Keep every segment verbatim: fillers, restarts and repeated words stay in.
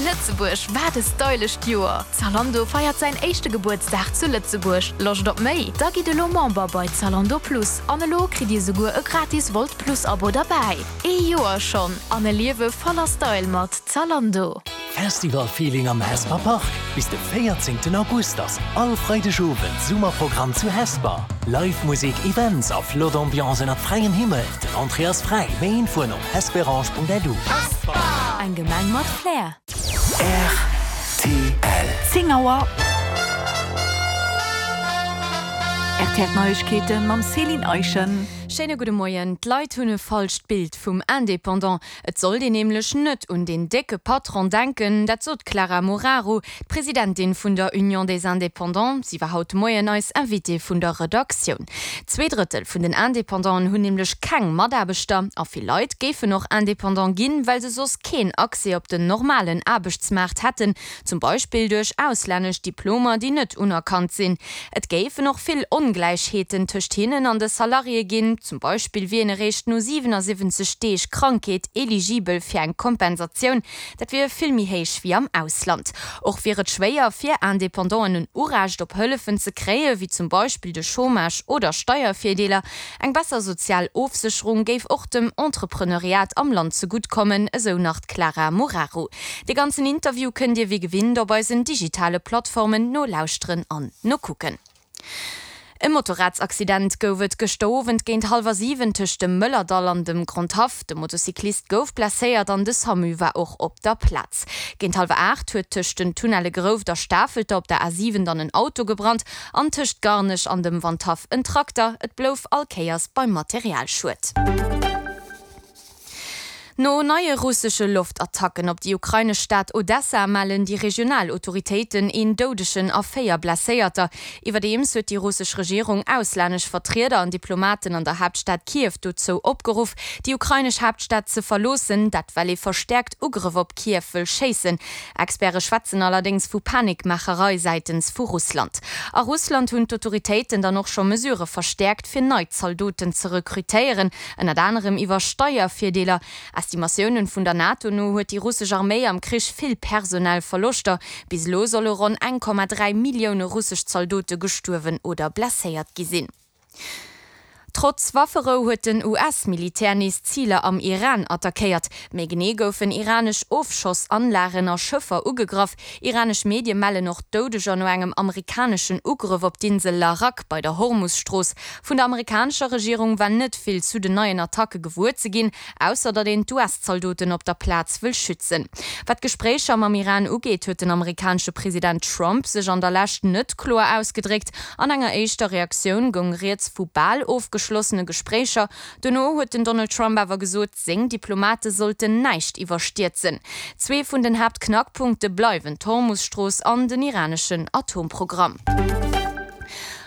Lëtzebuerg, wat e stylescht Joer! Zalando feiert säin éischte Gebuertsdag zu Lëtzebuerg. Loscht op méi? Da gitt elo Member bei Zalando Plus an elo kritt Dir souguer e gratis Wolt Plus Abo derbäi. Ee Joer schonn an e Liewe voller Style mat Zalando. Festival-Feeling am Hesper Park. Bis de véierzéngten August ass all Freidegowend Summerprogramm zu Hesper. Live Musek, Events a flott Ambiance ënnert fräiem Himmel. Den Entrée ass fräi. Méi Infoen op hesperange Punkt L U. Hesper! Eng Gemeng mat Flair. R T L. Zéng Auer. R T L Neiegkeeten mam Céline Eischen. Schéine gudde Moien. D'Leit hunn e falscht Bild vum Indépendant. Et sollt een nämlech net un den décke Patron denken, dat sot d'Clara Moraru, d'Presidentin vun der Union des Indépendants. Si war haut de Moien eis Invitée vun der Redaktioun. Zwee Drëttel vun den Indépendanten hunn nämlech keng Mataarbechter a vill Leit géifen och Indépendant ginn, well se soss keen Accès op den normalen Aarbechtsmaart hätten, zum Beispill duerch auslännesch Diplomer, déi net unerkannt sinn. Et géifen och vill Ongläichheeten tëscht hinnen an de Salariéë ginn, zum Beispill wier een eréischt no siwenasiwwenzeg Deeg Krankheet eligibel fir eng Kompensatioun, dat wier vill méi héich wéi am Ausland. Och wier et schwéier fir Independanten en Urecht op Hëllefen ze kréien, wéi zum Beispill de Chômage oder Steiervirdeeler. Eng besser sozial Ofsécherung géif och dem Entrepreneuriat am Land zegutt kommen, esou nach d'Clara Moraru. De ganzen Interview kënnt Dir wéi gewinnt op eisen digitale Plattformen nolauschteren an nokucken. E Motorradsaccident gouf et gëschter Owend géint hallwer siwen tëscht dem Mëllerdall an dem Grondhaff. De Motocyclist gouf blesséiert an de Samu war och op der Plaz. Géint hallwer aacht huet tëscht den Tunnelle Grouft a Stafelter op der A siwen dann en Auto gebrannt an tëscht Garnech an dem Wandhaff en Trakter. Et blouf all Kéiers beim Materialschued. No neie russesche Loftattacken op déi ukrainesch Stad Odessa mellen déi regional Autoritéiten een Doudegen a véier Blesséierter. Iwwerdeems huet déi russesch Regierung auslännesch Vertrieder an Diplomaten an der Haaptstad Kiew dozou opgeruff, déi ukrainesch Haaptstad ze verloossen, dat well ee verstäerkt Ugrëff op Kiew wëll schéissen. Experte schwätzen allerdéngs vu Panikmaacherei säitens vu Russland. A Russland hunn d'Autoritéiten dann och scho Mesurë verstäerkt, fir nei Zaldoten ze rekrutéieren, ënnert anerem iwwer Steiervirdeeler. Estimatiounen vun der NATO no huet déi russesch Arméi am Krich vill personell Verloschter. Bis elo solle ronn eng Komma dräi Millioune russesch Zaldote gestuerwen oder blesséiert gi sinn. Trotz Wafferou huet den U S-Militär nees Ziler am Iran attackéiert. Méi genee goufen iranesch Ofschossanlagen a Schëffer ugegraff. Iranesch Medie mellen och Doudeger no engem amerikaneschen Ugrëff op d'Insel Larak bei der Hormus-Strooss. Vun der amerikanescher Regierung war net vill zu den neien Attacke gewuer ze ginn, ausser datt een d'U S-Zaldoten op der Plaz wëll schützen. Wat d'Gespréicher mam Iran ugeet, huet den amerikanesche President Trump sech an der Lescht net kloer ausgedréckt. An enger éischter Reaktioun goung rieds vu bal ofgeschlossene Gespréicher. Dono huet den Donald Trump awer gesot, seng Diplomate sollten näischt iwwerstierzen. Zwee vun den Haaptknackpunkte bleiwen d'Hormus-Strooss an den iraneschen Atomprogramm.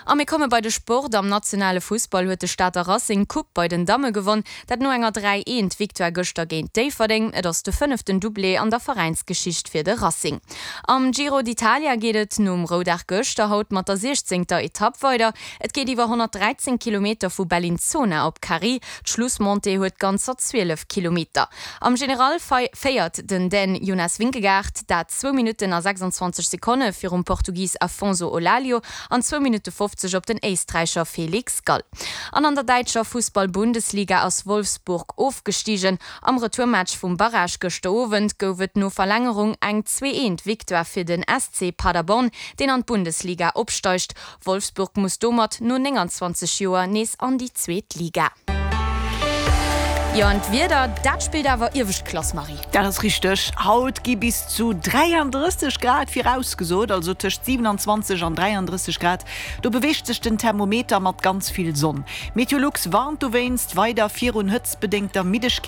A mir komme bei de Sport. Am nationale Fussball huet de Stater Racing d'Coupe bei den Damme gewonn, dat no enger dräi eent Victoire gëschter géint Déifferdeng. Et ass de fënneften Doublé an der Veräinsgeschicht fir de Racing. Am Giro d'Italia geet et nom Roudag gëschter haut mat der siechzéngter Etapp weider. Et geet iwwer honnertdräizéng Kilometer vu Bellinzona op Cari. D'Schlussmontée huet ganzer zwielef Kilometer. Am General féiert den Dän Jonas Vingegaard, dat zwou Minutten a sechsanzwanzeg Sekonne virum Portugis Afonso Eulalio an zwou Minutte fofzeg op den Éisträicher Felix Gall. An an der däitscher Fussball-Bundesliga ass Wolfsburg ofgestigen. Am Retourmatch vum Barrage gëschter Owend gouf et no Verlängerung eng zwee eent Victoire fir den S C Paderborn, deen an d'Bundesliga opsteigt. Wolfsburg muss domat no nénganzwanzeg Joer nees an déi zweet Liga. Jo an d'Wieder, dat spillt awer iewescht Klass, Marie. Dat ass richteg, haut gi bis zu dräiandrësseg Grad virausgesot, also tëscht siewenanzwanzeg an dräiandrësseg Grad. Do beweegt sech den Thermometer mat ganz vill Sonn. Meteolux warnt dowéinst weider virun hëtztbedéngter Middegkeet.